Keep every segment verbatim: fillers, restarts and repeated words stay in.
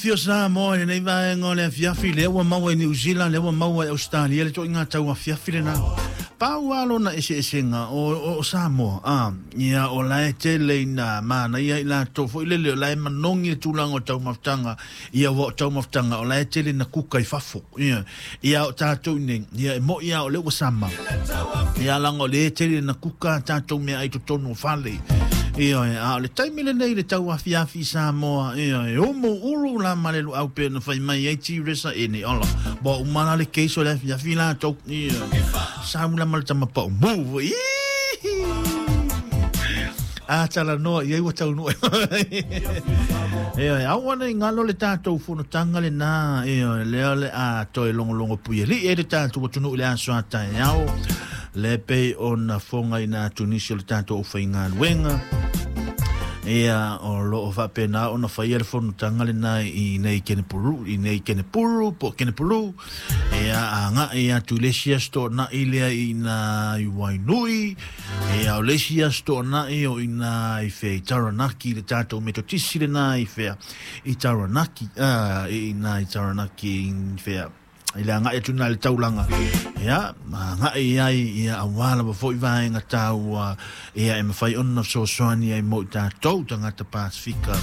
Fio Samoa i lenei vaega o le afiafi, lea ua maua i Niu Sila, lea ua maua i Ausetalia le toaiga tau afiafi lena. Pau lava lona eseesega o, o, o Samoa, a, ia o la e tele ina manaia i latou foi lele, o la e manogi le tulaga o taumafataga, ia ua o taumafataga, o la e tele ina kuka i fafo, ia, ia o tatou i nei, ia e moi lava o lea ua sama, ia leaga o lea e tele ina kuka a tatou meaai i totonu o fale. Ioe, a o le taimi lenei i le tauafiafi i Samoa, ioe, e umu ulu la ma le luau pe na fai mai ai Tiresa e nei ola. Bo uma la le case o le afiafi latou, ioe. Sau la ma le tama pau mu, a talanoa i ai ua taunuu. Ioe, aua ne i galo le tatou fonotaga lenā, ioe, lea o le a toe logologo puialii ai le tatou atunuu i le aso a taeao. Le pei ona fogaina atu nisi o le tatou aufaigaluega, ia o loo faapena ona faia le fonotaga lena i nei Kenepuru, i nei Kenepuru po o Kenepuru, ia agai atu i le isi aso Toonai lea i ina i Wainui, ia o le isi aso Toonai o ina i fea i Taranaki, le tatou Metotisi lena i fea i Taranaki, a i ina i Taranaki i fea i le agai atu i le taulaga, ia, ma agai ai, ia, aua lava foi vaega taua, ia, e mafai ona fesoasoani ai mo i tatou tagata Pasifika,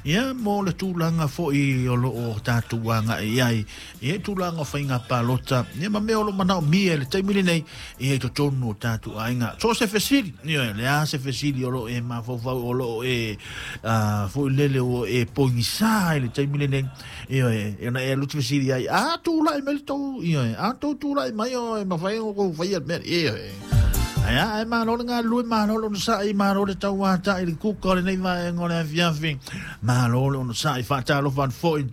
ia, mo le tulaga foi o loo tatou agai ai, ia, i tulaga o faiga palota, ia, ma mea o lo manaomia i le taimi lenei, ia, i totonu o tatou aiga. So se fesili, ia, le a se fesili o loo e mafaufau, o loo e uh, foi lele o e pogisa i le taimi lenei, ia, e ona e alu atu fesili ai, a tulai mai le tou, ia, a tou tulai mai o e mafai ona kou faia le mea, ia, aia, ae malo le galulue, malo le onosai, malo le tauata'i i le kuka o lenei vaega o le afiafi, malo le onosai, faatalofa atu foi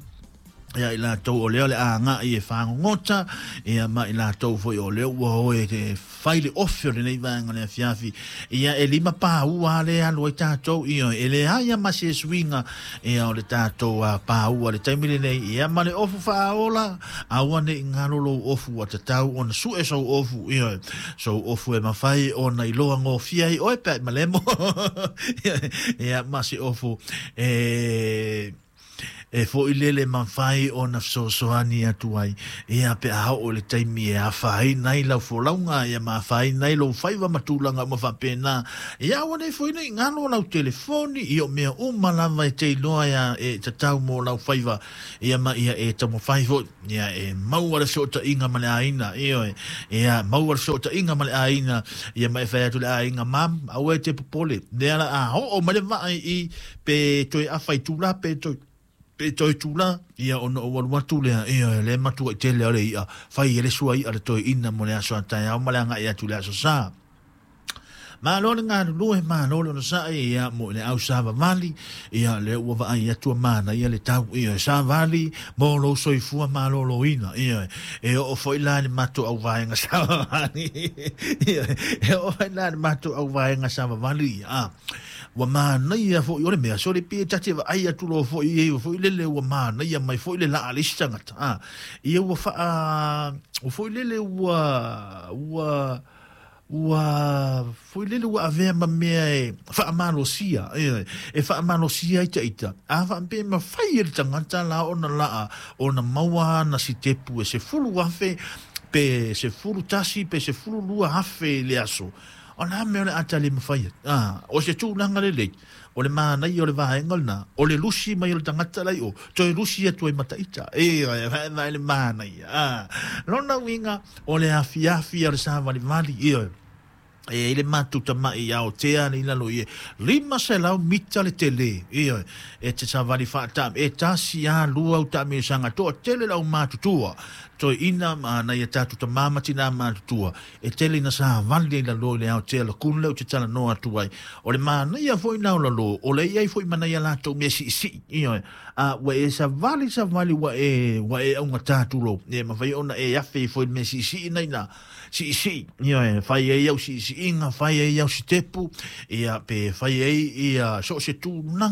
ia i latou o lea o le agai e fagogota, ia ma i latou foi o lea ua o e fai le ofe o lenei vaega o le afiafi, ia e lima paua le alu ai tatou, ia e leai a ma se suiga, ia o le tatou paua le taimi lenei, ia ma le ofu faaola, aua ne i galo lou ofu ua tatau ona sue sou ofu, ia sou ofu e mafai ona iloa gofie ai oe pe a malemo, ia ma se ofu e e foi lele mafai ona fesoasoani atu ai, ia pe a oo i le taimi e afaina ai lau folauga, ia ma afaina ai lou faiva ma tulaga uma faapena, ia aua nei foi nei galo lau telefoni, ia o mea uma lava e te iloa ia e tatau mo lau faiva, ia ma ia e taumafai foi, ia e maua le fesootaiga ma le aiga, ioe, ia maua le fesootaiga ma le aiga, ia ma e fai atu le aiga, mam, aua e te popole, lea la a oo mai le vaai i pe toe afa itula pe toe pe toe tula, ia ona ou alu atu lea, ia le matua i tele o le i'a, fai e le sua i'a le toe ina mo le aso a taeao ma le agai atu i le aso Sa. Malo le galulue, malo le onosai, ia mo i le au savavali, ia lea ua vaai atu a manaia le tau, ia savali mo lou soifua malōlōina, ia e oo foi la i le matou auvaega savavali, ia e oo foi la i le matou auvaega savavali, ia ua manaia foi o le mea sole pe ta te vaai atu loa foi i ai foi lele ua manaia mai foi le laa a le isi tagata, a ia ua faa ua foi lele ua ua ua foi lele ua avea ma mea e faamalosia, e, e faamalosia ai taita a faapea mafai e le tagata la ona laa ona maua ana sitepu e sefulu afe pe sefulu tasi pe sefulu lua afe i le aso, o le a mea o le a tali mafai ai, a o se tulaga lelei o le manaia o le vaega lena o le lusi mai o le tagata lai o toe lusi atu ai ma taita, e vaevae le manaia, a lona uiga o le afiafi o le savalivali, ia e ai le matou tama'i aotea le i lalo i e lima selau mita le tele, ia e te savali faata e tasi a lua au taamilosaga toatele le aumatutua toeaina ma nai a tatou tamā ma tinā matutua e tele ina savali ai lalo i le aotea lakunu lea ou te talanoa atu ai. O le manaia foi na o lalo o le i ai foi ma nai a latou mea siisii, ia a ua e savali savali ua e ua e augatā tulou, e mafai ona e afe foi le mea siisii na ina siisii, ia e fai ai au siisiiga, fai ai au sitepu, ia pe fai ai ia so o se tulaga.